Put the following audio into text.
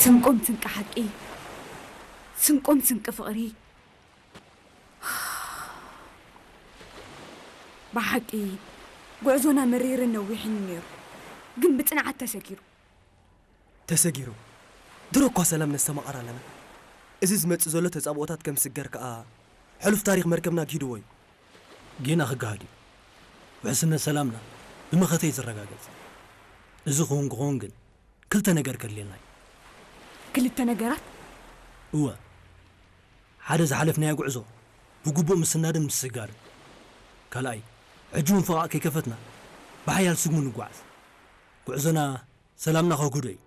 ስንቆም ስንቂ ሓቂ፣ ስንቆም ስንቂ ፍቕሪ። ብሓቂ ጉዕዞና መሪርን ነዊሕን ነይሩ፣ ግን ብጽንዓት ተሰጊሩ። ተሰጊሩ። ድሮ እኳ ሰላም ነስተማቕር ኣለና። እዚ ዝመጽእ ዘሎ ተጻብኦታት ከም ስገር ከኣ ሕሉፍ ታሪኽ መርከብና ግሂድዎ እዩ። ጌና ክገሃድ እዩ። ውሕስነት ሰላምና ብመኸተ እዩ ዝረጋገጽ። እዚ ክውን ክኸውን ግን ክልተ ነገር ከድልየና እዩ። ክልተ ነገራት? እወ፣ ሓደ ዝሓለፍናዮ ጉዕዞ ብግቡእ ምስናድን ምስጋርን። ካልኣይ፣ ሕጂ እውን ፈቓቕ ከይከፈትና ብሓያል ስግሙ ንጓዓዝ። ጉዕዞና ሰላምና ከጉዶ እዩ።